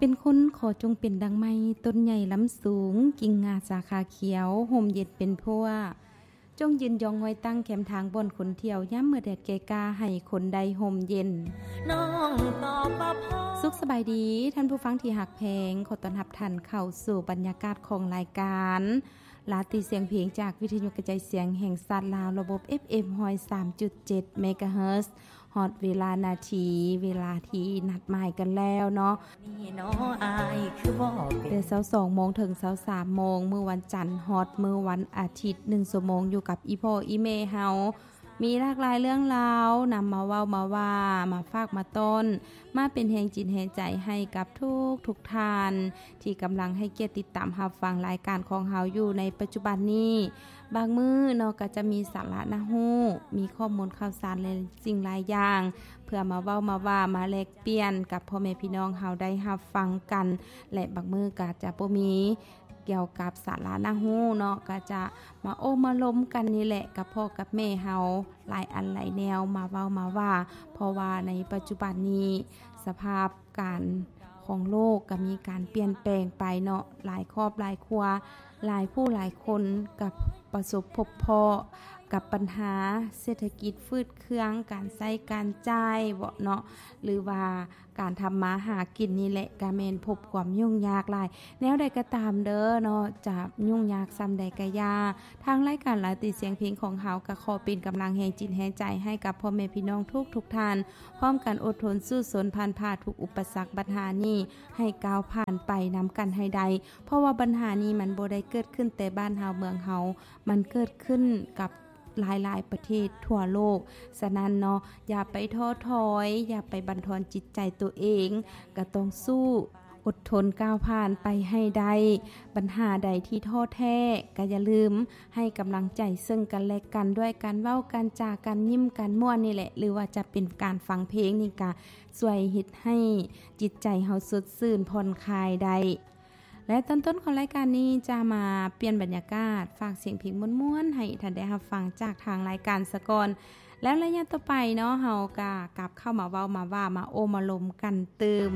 ເປັນຄົນຂໍຈົ່ງເປັນດັ່ງໄມ້ ຕົ້ນໃຫຍ່ລຳສູງ ກິ່ງງ່າສາຂາຂຽວ ຮົ່ມເຢັນເປັນພົວ ຈົ່ງຢືນຢອງງອຍຕັ້ງ ແຄມທາງບ່ອນຄົນທ່ຽວ ຍາມເມື່ອແດດແກ່ກ້າ ໃຫ້ຄົນໄດ້ຮົ່ມເຢັນ. ສຸກສະບາຍດີ ທ່ານຜູ້ຟັງທີ່ຮັກແພງ, ຂໍຕ້ອນຮັບທ່ານເຂົ້າສູ່ບັນຍາກາດຂອງລາຍການ ລາຕີສຽງເພງ ຈາກວິທະຍຸກະຈາຍສຽງແຫ່ງຊາດລາວ ລະບົບ ເອັຟເອັມ ຮ້ອຍສາມຈຸດເຈັດ ເມກາເຮີດ. ຮອດເວລານາທີ ເວລາທີ່ນັດໝາຍກັນແລ້ວເນາະ ແຕ່ຊາວສອງໂມງເຖິງຊາວສາມໂມງ ມື້ວັນຈັນຮອດມື້ວັນອາທິດ ໜຶ່ງຊົ່ວໂມງຢູ່ກັບອີ່ພໍ່ອີ່ແມ່ເຮົາ ມີຫຼາກຫຼາຍເລື່ອງລາວ ນຳມາເວົ້າມາວ່າ ມາຝາກມາຕ້ອນ ມາເປັນແຮງຈິດແຮງໃຈໃຫ້ກັບທຸກໆທ່ານ ທີ່ກຳລັງໃຫ້ກຽດຕິດຕາມຮັບຟັງລາຍການຂອງເຮົາຢູ່ໃນປັດຈຸບັນນີ້. ບາງມື້ເນາະ ກໍຈະມີສາລະໜ້າຮູ້ ມີຂໍ້ມູນຂ່າວສານຫຼາຍສິ່ງຫຼາຍຢ່າງ ເພື່ອມາເວົ້າມາວ່າ ມາແລກປ່ຽນກັບພໍ່ແມ່ພີ່ນ້ອງເຮົາໄດ້ຮັບຟັງກັນ ແລະ ບາງມື້ກໍຈະບໍ່ມີ ກ່ຽວກັບສາລະໜ້າຮູ້ເນາະ ກໍຈະມາໂອ້ມາລົມກັນນີ້ແຫຼະ ກັບພໍ່ກັບແມ່ເຮົາ ຫຼາຍອັນຫຼາຍແນວ ມາເວົ້າມາວ່າ ເພາະວ່າໃນປັດຈຸບັນນີ້ ສະພາບການຂອງໂລກກໍມີການປ່ຽນແປງໄປເນາະ ຫຼາຍຄອບຫຼາຍຄົວ ຫຼາຍຜູ້ຫຼາຍຄົນກໍປະສົບພົບພໍ້ກັບບັນຫາເສດຖະກິດຝືດເຄືອງ ການໃຊ້ການຈ່າຍເນາະ ຫຼືວ່າ ການທຳມາຫາກິນນີ້ແຫຼະ ກະແມ່ນພົບຄວາມຫຍຸ້ງຍາກຫຼາຍ. ແນວໃດກໍຕາມເດີເນາະ ຈະຫຍຸ້ງຍາກສ່ຳໃດກະຢ່າ ທາງລາຍການລາຕີສຽງເພງຂອງເຮົາ ກະຂໍເປັນກຳລັງແຮງຈິດແຮງໃຈໃຫ້ກັບພໍ່ແມ່ພີ່ນ້ອງທຸກໆທ່ານ ພ້ອມກັນອົດທົນສູ້ຊົນຜ່ານຜ່າທຸກອຸປະສັກບັນຫານີ້ ໃຫ້ກ້າວຜ່ານໄປນຳກັນໃຫ້ໄດ້ ເພາະວ່າບັນຫານີ້ມັນບໍ່ໄດ້ເກີດຂຶ້ນແຕ່ບ້ານເຮົາເມືອງເຮົາ ມັນເກີດຂຶ້ນກັບ ຫຼາຍໆປະເທດທົ່ວໂລກ. ສະນັ້ນເນາະ ຢ່າໄປທໍ້ຖອຍ ຢ່າໄປບັນທອນຈິດໃຈຕົວເອງ ກະຕ້ອງສູ້ອົດທົນກ້າວຜ່ານໄປໃຫ້ໄດ້. ບັນຫາໃດທີ່ທໍ້ແທ້ ກະຢ່າລືມໃຫ້ກຳລັງໃຈເຊິ່ງກັນແລະກັນ ດ້ວຍການເວົ້າ ການຈາ ການຍິ້ມ ການມ່ວນນີ້ແຫຼະ ຫຼືວ່າຈະເປັນການຟັງເພງນີ້ ກະຊ່ວຍເຮັດໃຫ້ຈິດໃຈເຮົາສົດຊື່ນຜ່ອນຄາຍໄດ້. ແລະ ຕອນຕົ້ນຂອງລາຍການນີ້ຈະມາປ່ຽນບັນຍາກາດ ຝາກສຽງເພງມ່ວນໆໃຫ້ທ່ານໄດ້ຮັບຟັງຈາກທາງລາຍການສາກ່ອນ ແລ້ວໄລຍະຕໍ່ໄປເນາະ ເຮົາກະກັບເຂົ້າມາເວົ້າມາວ່າ ມາໂອ້ມາລົມກັນຕື່ມ.